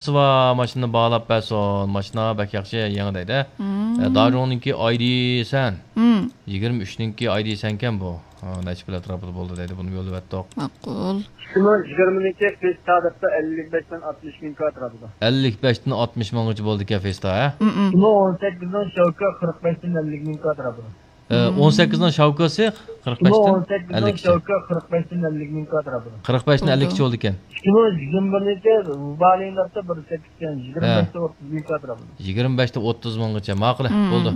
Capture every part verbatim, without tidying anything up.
بار ماشىنىنى باھالاپ بەرسۇن. ماشىنا بەك ياخشى، يېڭى دەيدۇ. مم. ئە، داجۇڭنىڭكى ئايدىسەن. مم. يىگىرمە ئۈچنىڭكى ئايدىسەنكەن بۇ. ئا، نەچچە پۇل ئەتراپىدا بولدى دەيدۇ، بۇنىمۇ يوللىۋەتتۇق. ماقۇل. ئىككى مىڭ يىگىرمىنىڭكى فېستا دەپتۇ، ئەللىك بەشتىن ئاتمىش مىڭ كاتىرا بولىدۇ. ئەللىك بەشتىن ئاتمىش مىڭغىچە بولىدىكەن فېستا، ھە؟ مم. ئىككى مىڭ ئون سەككىزنىڭ شاۋكا قىرىق بەشتىن ئەللىك مىڭ كاتىرا بولىدۇ. ئە، مم. ئون سەككىزنىڭ شاۋكاسى قىرىق بەشتىن ئىككى مىڭ ئون سەككىزنىڭ ئەللىك. شاۋكا قىرىق بەشتىن ئەللىك مىڭ كاتىرا بولىدۇ. قىرىق بەشتىن بولىدۇ. ئەللىك بولىدىكەن. ئىككى مىڭ يىگىرمە بىرنىڭكى بالىڭ دەپتۇ، بىر سەككىز ئىكەن، ھە. يىگىرمە بەشتىن ئوتتۇز مىڭ كاتىرا بولىدۇ. يىگىرمە بەشتىن ئوتتۇز مىڭغىچە، ماقۇل، مم. بولدى.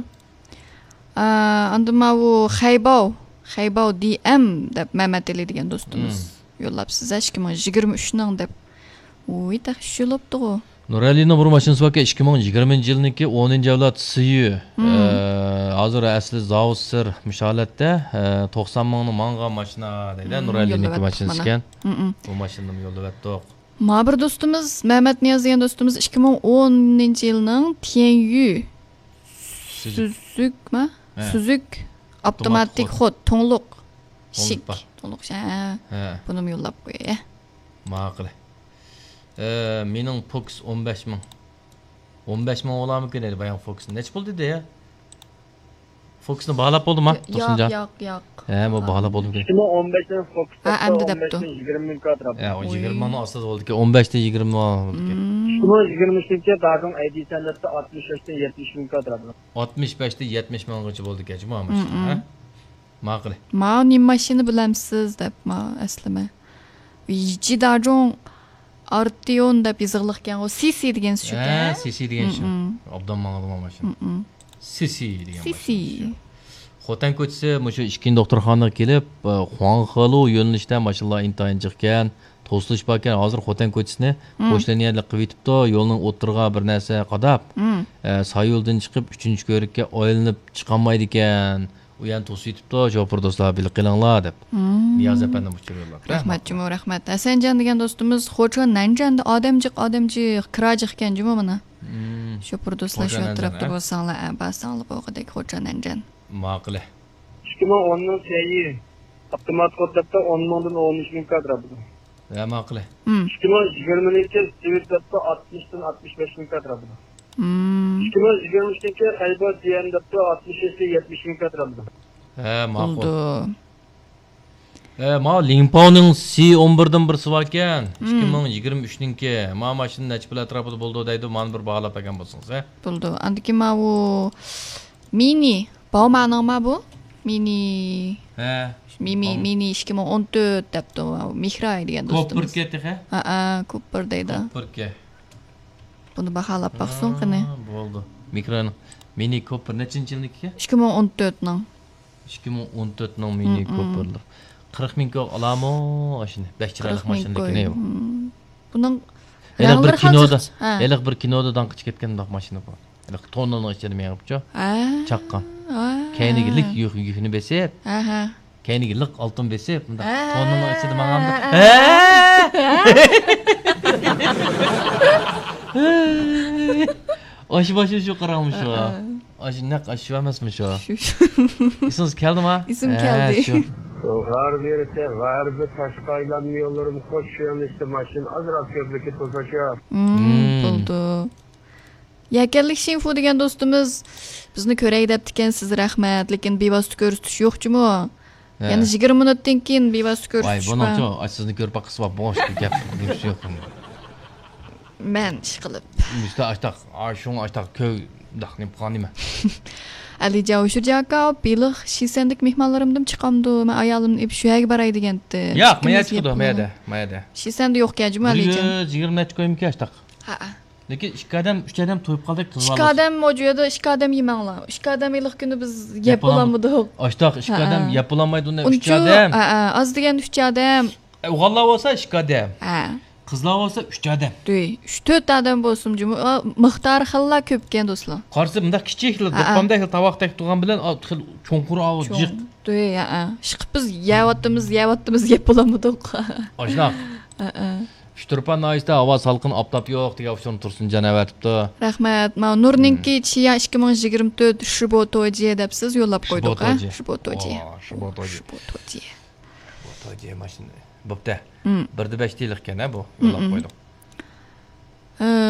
ئا، ئاندىن ماۋۇ خەيباۋ، خەيباۋ دى ئەم دەپ مەمەت ئېلى دېگەن دوستىمىز مم. يوللاپسىز، ئىككى مىڭ يىگىرمە ئۈچنىڭ دەپ. ۋۇي، تېخى ئۈچ يىل بوپتىغۇ. نۇرئەلىنىڭ بىر ماشىنىسى باركەن، ئىككى مىڭ يىگىرمىنچى يىلنىڭكى ئونىنچى ئەۋلاد سىيۈ. مم. ئە، ھازىر ئەسلى زاۋۇت سىر مۇشۇ ھالەتتە، ئە، توقسان مىڭنى ماڭغان ماشىنا دەيدۇ، مم، نۇرئەلىنىڭكى يوللىۋەتتۇق ماشىنىسى مانا. ئىكەن. مم، مم. بۇ ماشىنىنىمۇ يوللىۋەتتۇق. مانا بىر دوستىمىز مەمەت نىياز دېگەن دوستىمىز ئىككى مىڭ ئونىنچى يىلنىڭ تيەنيۈ سۈزۈك. سۈزۈكما؟ ھە. سۈزۈك ئاپتوماتىك ئاپتوماتىك خود. خود، تۇڭلۇق. تۇڭلۇق شىك. بار. تۇڭلۇق شە. ھە. بۇنىمۇ يوللاپ قوياي. ماقۇل. ئە، مېنىڭ فوكس ئون بەش مىڭ. ئون بەش مىڭ بولارمىكىن ئەمدى باياڭ فوكس. نەچچە پۇل دېدى يا؟ فوكسنى باھالاپ بولدىما، ياق، تۇرسۇنجان؟ ياق، ياق. ھە، بۇ باھالاپ بولدىمىكىن؟ ئىككى مىڭ ئون بەشنىڭ فوكس ھە، ئەمدى دەپتۇ. ئون بەشتىن يىگىرمە مىڭ كاتىرا. ھە، ئۇ ئوي. يىگىرمە مىڭنىڭ ئاستىدا بولىدىكەن. ئون بەشتىن يىگىرمە مىڭ بولىدىكەن. مم. ئىككى مىڭ يىگىرمە ئۈچىنچى داجۇڭ ئەيدىسەن دەپتۇ، ئاتمىش بەشتىن يەتمىش مىڭ كاتىرا. ئاتمىش بەشتىن يەتمىش مىڭغىچە بولىدىكەن، جۇمۇ ماشىنا، مم، ھە؟ ماقۇل. ماۋۇ نېمە ماشىنا بىلەمسىز دەپ، ماۋۇ ئەسلىمە. يىچى داجۇڭ ئارتىيون دەپ يېزىقلىقكەن، ئۇ سىسى دېگەن شۇكەن. ھە، سىسى دېگەن شۇ. مم، مم. ئوبدان ماڭىدىغان ماشىنا. مم، مم. سىسى دېگەن سىسى. ماشىنا شۇ. خوتەن كوچىسى مۇشۇ ئىككىنچى دوختۇرخانىغا كېلىپ، ئە، خۇاڭخېلۇ يۆنىلىشتە ماشىنىلار ئىنتايىن جىقكەن. توسۇلۇش باركەن، ھازىر خوتەن كوچىسىنى مم. پوشلېنىيەلىك قىلىۋېتىپتۇ، يولنىڭ ئوتتۇرىغا بىر نەرسە قاداپ، مم. ئە، سايولدىن چىقىپ، ئۈچىنچى كۆۋرۈككە ئايلىنىپ چىقالمايدىكەن. ئۇ يەنە توسۇۋېتىپتۇ، شوپۇر دوستلار، بىلىپ قېلىڭلار دەپ. مم. نىياز ئەپەندىم ئۇچۇر يوللاپتۇ. رەھمەت جۇمۇ، رەھمەت. ھەسەنجان دېگەن دوستىمىز، خوچا نەنجەندە ئادەم جىق، ئادەم جىق، كىرا جىقكەن جۇمۇ مانا. مم. شوپۇر دوستلار خوچا شۇ ئەتراپتا نەنجەن، ھە؟ بولساڭلار، ئە، بارساڭلار بولغۇدەك خوچا نەنجەن. ماقۇل. ئىككى مىڭ ئوننىڭ سەيى ئاپتومات خود دەپتۇ، ئون مىڭدىن ئون ئۈچ مىڭ كاتىرا بولىدۇ. ھە، ماقۇل. مم. ئىككى مىڭ يىگىرمىنىڭكى سىۋىت دەپتۇ، ئاتمىشتىن ئاتمىش بەش مىڭ كاتىرا بولىدۇ. مم. ئىككى مىڭ يىگىرمە ئۈچىنچى خەيبەر دى ئەم دەپتۇ، ئاتمىش بەشتىن يەتمىش مىڭ كاتىرا بولىدۇ. ھە، ماقۇل. بولدى. ھە، ماۋۇ لىڭپاۋنىڭ سى ئون بىردىن بىرسى باركەن. مم. ئىككى مىڭ يىگىرمە ئۈچنىڭكى. ماۋۇ ماشىنا نەچچە پۇل ئەتراپىدا بولىدۇ دەيدۇ. مانا بىر باھالاپ بەرگەن بولسىڭىز، ھە؟ بولدى. ئاندىن كېيىن ماۋۇ مىنى. باۋمانىڭما بۇ؟ مىنى. ھە. مىنى، باۋ- مىنى ئىككى مىڭ ئون تۆت دەپتۇ. مىھراي دېگەن دوستىمىز. كوپىركە تېخى؟ ھەئە، كوپىر دەيدۇ. كوپىركە. بۇنى باھالاپ باقسۇن قېنى. ھا، بولدى. مىھراينىڭ مىنى كوپىر نەچچىنچى يىلنىڭكى؟ ئىككى مىڭ ئون تۆتنىڭ. ئىككى مىڭ ئون تۆتنىڭ مىنى مم، مم. كوپىرلار. قىرىق مىڭ كوي ئالامۇ ئاشۇنى. بەك چىرايلىق قىرىق مىڭ ماشىنا لېكىن، كوي. ئەي. مم. بۇنىڭ ھېلىقى بىر رەڭلىرى كىنودا، خازىر، ھە. ھېلىقى بىر كىنودا داڭقى چىقىپ كەتكەن مۇنداق ماشىنا بار. ھېلىقى توننىنىڭ ئىچىدە مېڭىپچۇ. ھە. چاققان. ھە. كەينىگە لىك يۈك، يۈكنى بېسىپ. ھە، ھە. كەينىگە لىق ئالتۇن بېسىپ، مۇنداق ھە. توننىنىڭ ئىچىدە ماڭامدۇ. ھە. ھە. ئاشۇ ماشىنا شۇ قاراڭمۇ شۇ. ھە، ھە. ئاشۇ نەق ئاشۇ ئەمەسمۇ شۇ؟ شۇ، شۇ. ئېسىڭىزگە كەلدىما؟ ئېسىمگە ھە، كەلدى. شۇ. غەربىي، غەربىي تاشقى ئايلانما يوللىرىمۇ خوش، شۇ يەرلىشتە ماشىنا ئازراق كۆپلۈكى توساشا. مم، مم. بولدى. يەكەنلىك شىنفۇ دېگەن دوستىمىز بىزنى كۆرەي دەپتىكەن، سىز رەھمەت، لېكىن بىۋاسىتە كۆرسىتىش يوق جۇمۇ. ھە. يەنە يىگىرمە مىنۇتتىن كېيىن بىۋاسىتە ۋاي، كۆرسىتىش بار. بۇنىڭچۇ، ئاي، سىزنى كۆرۈپ باققىسى بار، بوش گەپ، گەپ يوق. مەن ئىشقىلىپ. مۇشتا ئاشتاق، ئا، شۇڭا ئاشتاق كۆي، داق نېمە قىلغان نېمە؟ ئەلىجان ئۇشۇرجاكا، بېلىق شىسەندىكى مېھمانلىرىمدىن چىقامدۇ؟ مەن ئايالىمنى ئېلىپ شۇ يەرگە باراي دېگەنتى. ياق، مەن يەردە چىقىدۇ، مەن يەردە، مەن يەردە. شىسەندە يوقكەن جۇمۇ، ئەلىجان. بىر يۈز يىگىرمە نەچچە كويمىكى ئاشتاق. ھەئە. لېكىن ئىككى ئادەم، ئۈچ ئادەم تويۇپ قالدۇق، قىز بالىسى. ئىككى ئادەم، ئۇ يەردە ئىككى ئادەم يېمەڭلار. ئىككى ئادەم ھېلىقى كۈنى بىز يەپ بولالمىدۇق. ئاشتاق ئىككى ئادەم يەپ بولالمايدۇ، ئۇنى ئۈچ ئادەم. ھەئە، ئاز دېگەندە ئۈچ ئادەم. ئوغۇللار بولسا ئىككى ئادەم. ھە. قىزلار بولسا ئۈچ ئادەم. دۇي، ئۈچ تۆت ئادەم بولسۇن جۇمۇ. ئا، مىقدارى خېلىلا كۆپكەن دوستلار. قارىسا مۇنداق كىچىك، ھەئە. دوپپامدەك تاۋاق تەك تۇرغان بىلەن، ئا، خېلى چوڭقۇر ئاۋۇ جىق. دۇي، ھەئە. ئىشقىلىپ بىز يەۋاتىمىز، يەۋاتىمىز، يەپ بولالمىدۇق. ئاشۇنداق. ھەئە. ئۇچتۇرپان ناھىيەسىدە ھاۋا سالقىن، ئاپتاپ يوق دېگەن ئۇچۇرنى تۇرسۇنجان ئەۋەتىپتۇ. رەھمەت. ماۋۇ نۇرنىڭكى چىيا ئىككى مىڭ يىگىرمە تۆت شىبو توجى دەپ سىز يوللاپ قويدۇق، ھە؟ شىبو توجى. شىبو توجى. ۋا، شىبو توجى. شىبو توجى. شىبو توجى ماشىنا. بوپتۇ. مم. بىردە بەش دېيىلىككەن، ھە، بۇ؟ يوللاپ قويدۇق. ئى،